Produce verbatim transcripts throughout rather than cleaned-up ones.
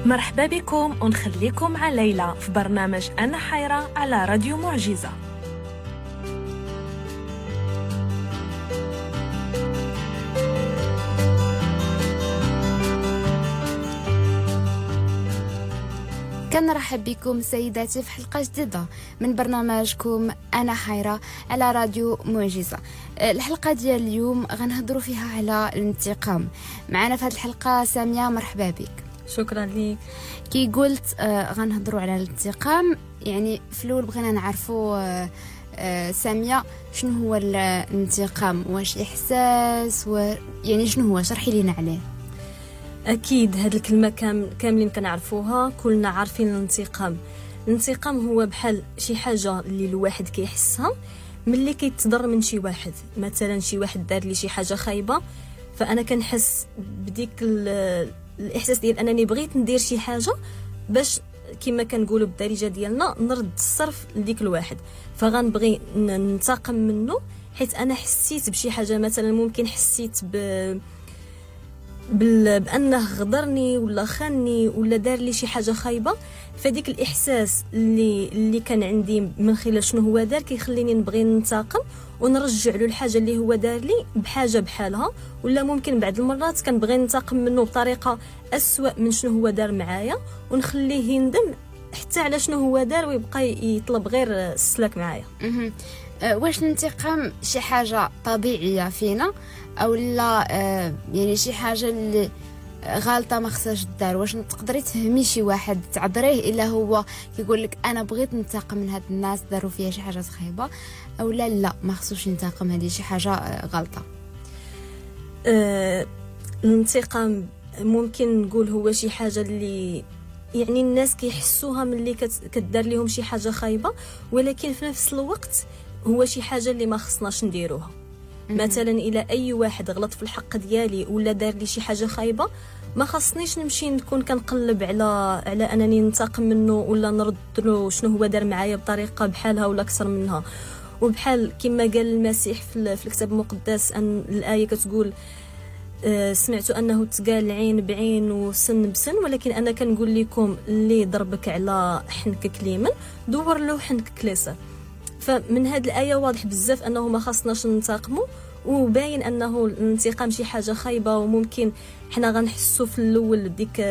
مرحبا بكم ونخليكم مع ليلى في برنامج أنا حيرة على راديو معجزة. كنرحب بكم سيداتي في حلقة جديدة من برنامجكم أنا حيرة على راديو معجزة. الحلقة ديال اليوم غنهضروا فيها على الانتقام. معنا في هذه الحلقة سامية، مرحبا بك. شكرا لك. كي قلت آه غنهضروا على الانتقام، يعني في الاول بغينا نعرفوا آه آه سامية شنو هو الانتقام، واش احساس و... يعني شنو هو، شرحي لينا عليه. اكيد هاد الكلمة كام... كاملين كنعرفوها، كلنا عارفين الانتقام. الانتقام هو بحال شي حاجة اللي الواحد كيحسها ملي كيتضر من شي واحد. مثلا شي واحد دار لي شي حاجة خايبة، فانا كنحس بديك ال... الاحساس ديال انني بغيت ندير شي حاجة باش كما كنقولوا بالدارجة ديالنا نرد الصرف لديك الواحد، فغنبغي ننتقم منه حيت انا حسيت بشي حاجة. مثلا ممكن حسيت ب بال... بانه غدرني ولا خانني ولا دار لي شي حاجة خايبة، فديك الاحساس اللي اللي كان عندي من خلال شنو هو دار كيخليني نبغي ننتقم ونرجع له الحاجة اللي هو دار لي بحاجة بحالها، ولا ممكن بعض المرات كنبغي ننتقم منه بطريقة اسوأ من شنو هو دار معايا ونخليه يندم حتى على شنو هو دار ويبقى يطلب غير السلاك معايا. واش الانتقام شي حاجة طبيعية فينا او لا يعني شي حاجة اللي غالطه ما خصهاش دار؟ واش تقدري تفهمي شي واحد تعذريه الا هو كيقول لك انا بغيت ننتقم من هاد الناس داروا فيا شي حاجة خايبة، او لا لا ما خصوش ينتقم، هذه شي حاجة غلطه؟ أه الانتقام ممكن نقول هو شي حاجة اللي يعني الناس كيحسوها ملي كدار لهم شي حاجة خايبة، ولكن في نفس الوقت هو شي حاجة اللي ما خصناش نديروها. مثلا الى اي واحد غلط في الحق ديالي ولا دار لي شي حاجة خايبة، ما خصنيش نمشي نكون كنقلب على على انني ننتقم منه ولا نرد له شنو هو دار معايا بطريقة بحالها ولا اكثر منها. وبحال كما قال المسيح في الكتاب المقدس ان الايه كتقول سمعت انه تقال عين بعين وسن بسن، ولكن انا كنقول لكم اللي ضربك على حنكك اليمين دور له حنكك اليسار. فمن هذه الايه واضح بزاف انه ما خصناش ننتقموا، وباين انه الانتقام شي حاجة خايبة، وممكن حنا غنحسوا في الاول ديك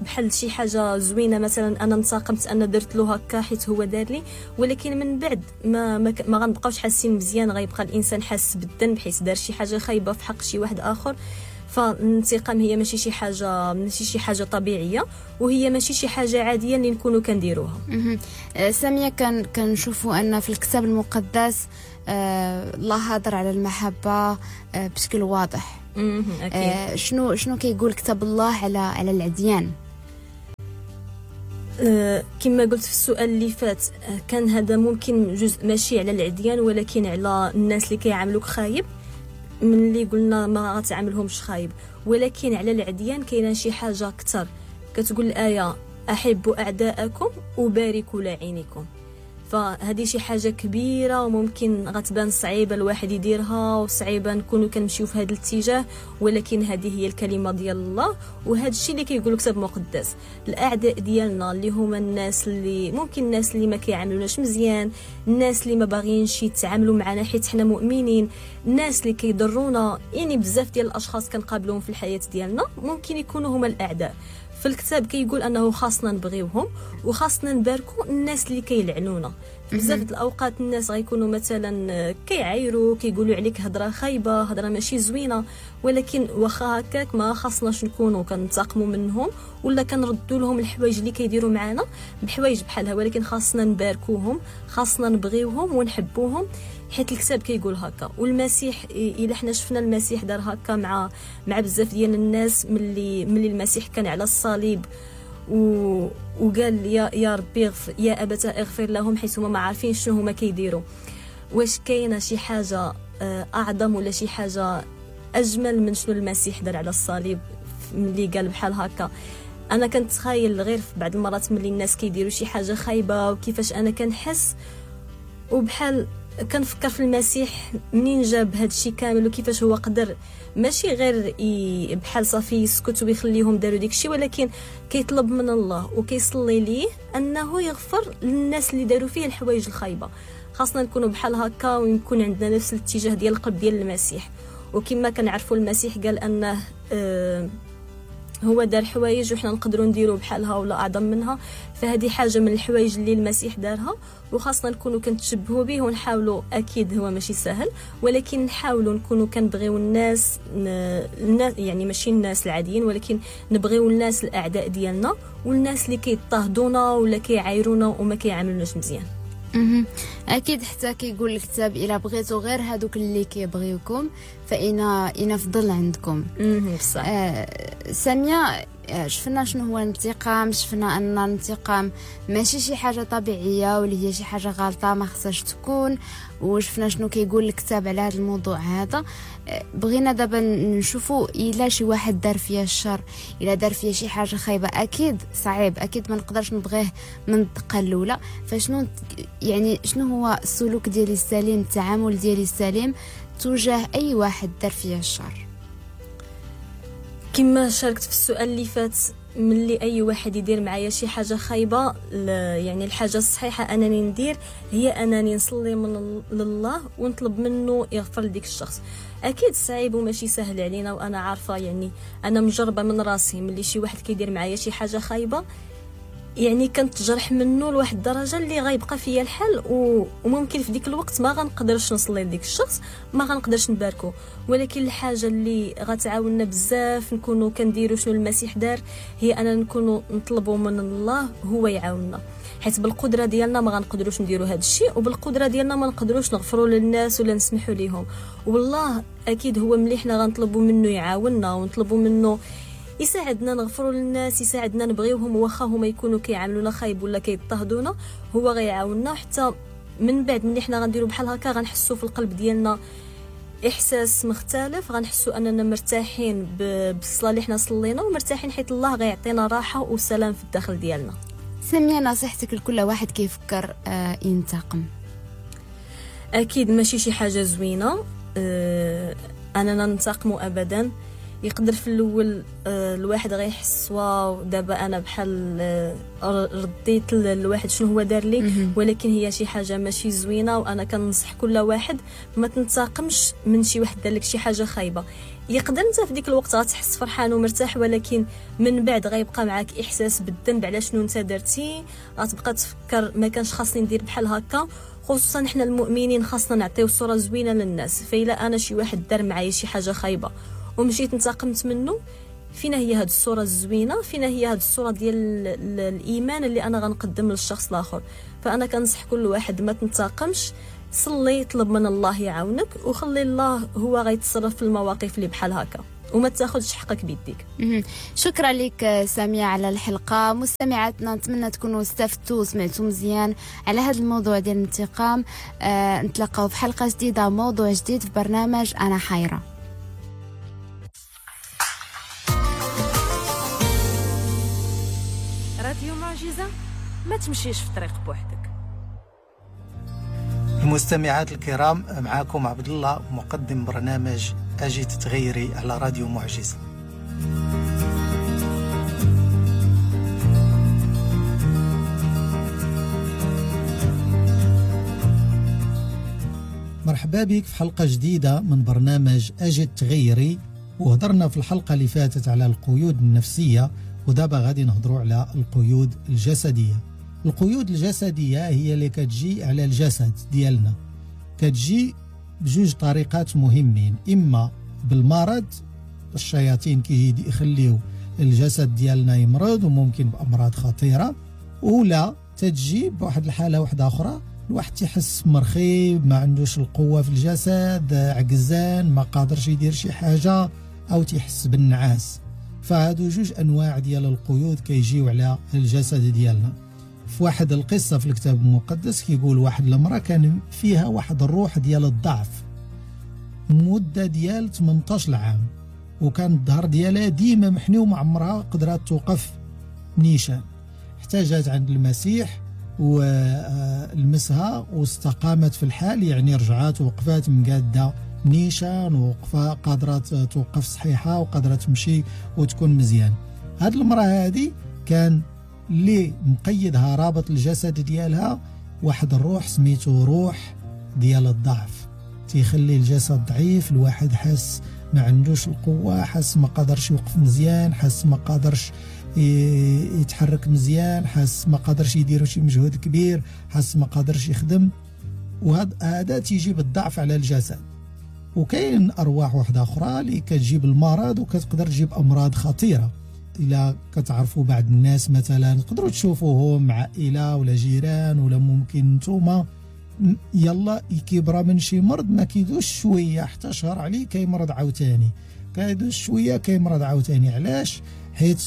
بحال شي حاجة زوينة، مثلا انا انتقمت انا درت له هكا حيت هو دار لي، ولكن من بعد ما ما, ما غنبقاوش حاسين مزيان، غيبقى الانسان حاس بالذنب حيت دار شي حاجة خايبة في حق شي واحد اخر. فالانتقام هي ماشي شي حاجة ماشي شي حاجة طبيعية، وهي ماشي شي حاجة عادية اللي نكونوا كنديروها. سامية، كان كنشوفوا ان في الكتاب المقدس آه الله هضر على المحبة آه بشكل واضح. آه شنو شنو كيقول كتاب الله على على العديان؟ آه كما قلت في السؤال اللي فات، كان هذا ممكن جزء ماشي على العديان ولكن على الناس اللي كيعاملوك خايب، من اللي قلنا ما غتعاملهمش خايب، ولكن على العديان كاينه شي حاجة اكثر. كتقول الايه احبوا اعداءكم وباركوا لعينكم. فهذه شي حاجة كبيرة وممكن غتبان صعيبة الواحد يديرها وصعيبه نكونوا كنمشيو في هذا الاتجاه، ولكن هذه هي الكلمة ديال الله وهذا الشيء اللي كيقول الكتاب المقدس. الاعداء ديالنا اللي هما الناس اللي ممكن الناس اللي ما كيعاملوناش مزيان، الناس اللي ما باغيينش يتعاملوا معنا حيت حنا مؤمنين، الناس اللي كيضرونا، يعني بزاف ديال الاشخاص كنقابلوهم في الحياة ديالنا ممكن يكونوا هما الاعداء. في الكتاب كيقول انه خاصنا نبغيوهم وخاصنا نباركو الناس اللي كيلعنونا. بزاف د الاوقات الناس غيكونوا مثلا كيعايروا، كيقولوا عليك هضره خايبة، هضره ماشي زوينة، ولكن واخا هكاك ما خاصناش نكونوا كنتقموا منهم ولا كنردوا لهم الحوايج اللي كيديروا معنا بحوايج بحالها، ولكن خاصنا نباركوهم، خاصنا نبغيوهم ونحبوهم حيت الكتاب كيقول هكا. والمسيح الا حنا شفنا المسيح دار هكا مع مع بزاف ديال الناس ملي ملي المسيح كان على الصليب و... وقال يا يا ربي يا ابتا اغفر لهم حيت هما ما عارفين شنو هما كيديروا. واش كاينه شي حاجة اعظم ولا شي حاجة اجمل من شنو المسيح دار على الصليب ملي قال بحال هكا؟ انا كنتخايل غير في بعض المرات ملي الناس كيديروا شي حاجة خايبة وكيفاش انا كنحس، وبحال كنفكر في المسيح منين جاب هذا الشيء كامل وكيفاش هو قدر ماشي غير بحال صافي يسكت ويخليهم داروا ديك الشيء، ولكن كيطلب من الله وكيصلي ليه انه يغفر للناس اللي داروا فيه الحوايج الخايبة. خاصنا نكونوا بحال هكا ويكون عندنا نفس الاتجاه ديال القلب ديال المسيح. وكما كنعرفوا المسيح قال انه آه هو دار حوايج وحنا نقدروا نديروا بحالها ولا اعظم منها، فهذه حاجة من الحوايج اللي المسيح دارها وخاصنا نكونوا كنتشبهوا به ونحاولوا. اكيد هو ماشي سهل، ولكن نحاولوا نكونوا كنبغيو الناس، الناس يعني ماشي الناس العاديين، ولكن نبغيو الناس الاعداء ديالنا والناس اللي كيضطهدونا ولا كيعايرونا وما كيعاملوناش مزيان. اكيد حتى كيقول الكتاب الا بغيتو غير هادوك اللي كيبغيوكم فإن إن فضل عندكم. بصح آه سامية، شفنا شنو هو الانتقام، شفنا ان الانتقام ماشي شي حاجة طبيعية واللي هي شي حاجة غلطه ما خصهاش تكون، وشفنا شنو كيقول الكتاب على هذا الموضوع هذا. بغينا دابا نشوفوا الا شي واحد دار فيا الشر، الا دار فيا شي حاجة خايبة، اكيد صعيب، اكيد ما نقدرش نبغيه من الدقة الاولى. فشنو يعني شنو هو السلوك ديالي السليم، التعامل ديالي السليم تجاه اي واحد دار فيا الشر؟ كما شاركت في السؤال اللي فات، ملي اي واحد يدير معايا شي حاجة خايبة، يعني الحاجة الصحيحة انني ندير هي انني نصلي من لله ونطلب منه يغفر لديك الشخص. اكيد صعيب وماشي سهل علينا، وانا عارفه يعني انا مجربه من راسي، ملي شي واحد كيدير معايا شي حاجة خايبة يعني كنتجرح منه لواحد الدرجة اللي غيبقى فيا الحال، وممكن في ديك الوقت ما غنقدرش نصلي لديك الشخص، ما غنقدرش نباركو. ولكن الحاجة اللي غتعاوننا بزاف نكونوا كنديروا شنو المسيح دار، هي اننا نكونوا نطلبوا من الله هو يعاوننا، حيت بالقدرة ديالنا ما غنقدروش نديروا هذا الشيء، وبالقدره ديالنا ما نقدروش نغفروا للناس ولا نسمحوا ليهم. والله اكيد هو ملي حنا غنطلبوا منه يعاوننا ونطلبوا منه يساعدنا نغفروا للناس، يساعدنا نبغيوهم واخا هما يكونوا كيعاملونا خايب ولا كيضطهدونا، هو غيعاوننا. حتى من بعد ملي حنا غنديروا بحال هكا غنحسوا في القلب ديالنا احساس مختلف، غنحسوا اننا مرتاحين بالصلاة اللي حنا صلينا، ومرتاحين حيت الله غيعطينا راحة وسلام في الداخل ديالنا. سمية، نصيحتك لكل واحد كيفكر آه ينتقم؟ اكيد ماشي شي حاجة زوينة آه اننا ننتقموا ابدا. يقدر في الاول الواحد غيحس واو دابا انا بحال رديت الواحد شنو هو دار لي، ولكن هي شي حاجة ماشي زوينة. وانا كنصح كل واحد ما تنتقمش من شي واحد دار لك شي حاجة خايبة. يقدر انت في ديك الوقت غتحس فرحان ومرتاح، ولكن من بعد غيبقى معاك احساس بالذنب على شنو انت درتي، غتبقى تفكر ما كانش خاصني ندير بحال هكا. خصوصا حنا المؤمنين خاصنا نعطيو صوره زوينة للناس، فإلا انا شي واحد دار معايا شي حاجة خايبة ومشيت انتقمت منه، فينا هي هاد الصورة الزوينة، فينا هي هاد الصورة ديال الايمان اللي انا غنقدم للشخص الاخر. فانا كنصح كل واحد ما تنتقمش، صلي، طلب من الله يعاونك، وخلي الله هو غيتصرف في المواقف اللي بحال هكا، وما تاخذش حقك بيديك. شكرا لك سامية على الحلقة. مستمعاتنا نتمنى تكونوا استفدتوا وسمعتوا مزيان على هذا الموضوع ديال الانتقام. آه، نتلاقاو في حلقة جديدة، موضوع جديد في برنامج أنا حيرة. راديو معجزة، ما تمشيش في طريق بوحدك. المستمعات الكرام، معاكم عبد الله مقدم برنامج أجي تتغيري على راديو معجزة. مرحبا بك في حلقة جديدة من برنامج أجي تتغيري. وهضرنا في الحلقة اللي فاتت على القيود النفسية، ودابا غادي نهضروا على القيود الجسدية. القيود الجسدية هي اللي كتجي على الجسد ديالنا، كتجي بجوج طريقات مهمين، إما بالمرض، الشياطين كيجي يخليو الجسد ديالنا يمرض وممكن بأمراض خطيرة، ولا تجي بواحد الحالة واحدة أخرى، الواحد تيحس مرخي، ما عندوش القوة في الجسد، عجزان، ما قادرش يدير شي حاجة، أو تيحس بالنعاس. فهادو جوج أنواع ديال القيود كيجيو على الجسد ديالنا. في واحد القصة في الكتاب المقدس كيقول واحد المرأة كان فيها واحد الروح ديال الضعف مدة ديال ثمانية عشر عام، وكان الظهر ديالها ديما محني وما عمرها قدرات توقف نيشان، حتى جات عند المسيح ولمسها واستقامت في الحال، يعني رجعات وقفات مقادة نيشان وقفة قادرة توقف صحيحة وقادرة تمشي وتكون مزيان. هاد المرأة هادي كان اللي مقيدها رابط الجسد ديالها واحد الروح سميتو روح ديال الضعف، تيخلي الجسد ضعيف، الواحد حاس ما عندوش القوة، حاس ما قادرش يوقف مزيان، حاس ما قادرش يتحرك مزيان، حاس ما قادرش يدير شي مجهود كبير، حاس ما قادرش يخدم. وهذا هذا تيجيب الضعف على الجسد. وكاين أرواح واحدة أخرى اللي كتجيب المرض وكتقدر تجيب أمراض خطيرة. إلا كتعرفوا بعض الناس مثلا تقدروا تشوفوهم عائلة ولا جيران ولا ممكن نتوما، يلا يكبر من شي مرض ما كيدوش شوية حتى شهر عليه كيمرض عاوتاني، كيدوش شوية كيمرض عاوتاني. علاش؟ حيت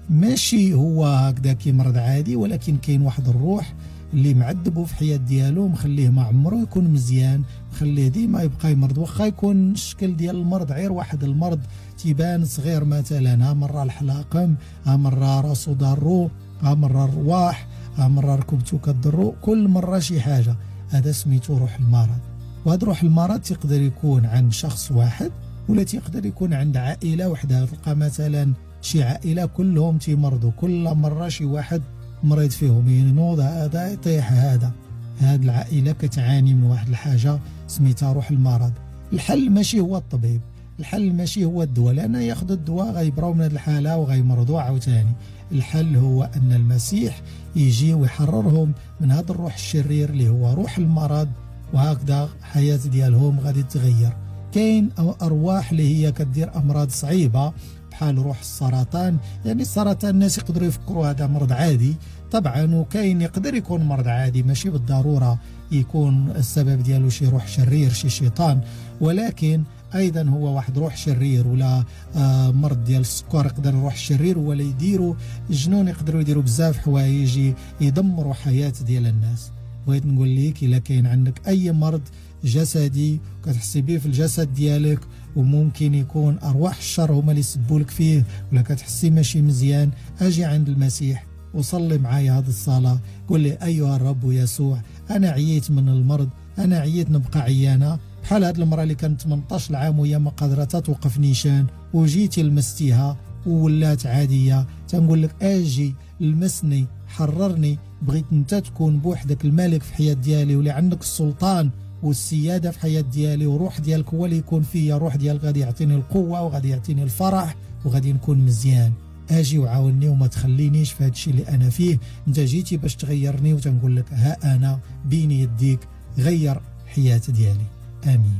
ماشي هو هكذا كيمرض عادي، ولكن كاين واحد الروح اللي معذبو في حياة ديالو، مخليه ما عمره يكون مزيان، مخليه ديما يبقى يمرض، واخا يكون الشكل ديال المرض غير واحد المرض تيبان صغير مثلا، ها مرة الحلاقم، ها مرة راسو ضارو، ها مرة الرواح، ها مرة ركبتو كضرو، كل مرة شي حاجة. هذا سميتو روح المرض. وهذا روح المرض تقدر يكون عند شخص واحد ولا تقدر يكون عند عائلة وحدها. تلقى مثلا شي عائلة كلهم تيمرضوا، كل مرة شي واحد مريض فيهم، ينوض هذا يطيح هذا. هاد العائلة كتعاني من واحد الحاجة سميتها روح المرض. الحل ماشي هو الطبيب، الحل ماشي هو الدواء، لأن ياخذ الدواء غيبراو من هاد الحالة وغيمرضوا عاوتاني. الحل هو أن المسيح يجي ويحررهم من هذا الروح الشرير اللي هو روح المرض، وهكذا حياة ديالهم غادي تغير. كاين أرواح اللي هي كدير أمراض صعيبة بحال روح السرطان. يعني السرطان الناس يقدروا يفكروا هذا مرض عادي طبعا، وكاين يقدر يكون مرض عادي، ماشي بالضرورة يكون السبب ديالو شي روح شرير شي شيطان، ولكن ايضا هو واحد روح شرير ولا آه مرض ديال السكر يقدر الروح الشرير ولا يديروا الجنون، يقدروا يديروا بزاف حوايج يدمروا حياة ديال الناس. بغيت نقول لك الا كاين عندك اي مرض جسدي كتحسي به في الجسد ديالك، وممكن يكون ارواح الشر هما اللي يسبوا لك فيه، ولا كتحسي ماشي مزيان، اجي عند المسيح وصلي معايا هذه الصلاة. قول لي ايها الرب يسوع، انا عييت من المرض، انا عييت نبقى عيانة بحال هاد المرأة اللي كانت ثمنطاش عام وهي ما قادرة توقف نيشان، وجيتي لمستيها وولات عادية. تنقول لك اجي لمسني، حررني، بغيت انت تكون بوحدك الملك في حياة ديالي، واللي عندك السلطان والسيادة في حياة ديالي، وروح ديالك هو اللي يكون فيا، روح ديالك غادي يعطيني القوة وغادي يعطيني الفرح وغادي نكون مزيان. اجي وعاوني وما تخلينيش في هادشي اللي انا فيه، انت جيتي باش تغيرني، وتنقول لك ها انا بين يديك، غير حياة ديالي. آمين.